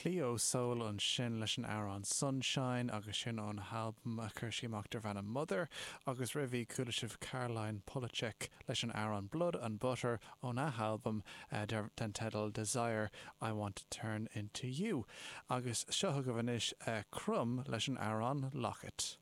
Cleo Sol ansin leis an amhrán Sunshine agus sin ón albam a chuir sí amach darb ainm Mother agus roimhe chuala sibh Caroline Polachek leis an amhrán Blood and Butter óna halbam den teideal Desire I Want to Turn Into You. Agus seo chugaibh anois Crumb leis an amhrán Locket.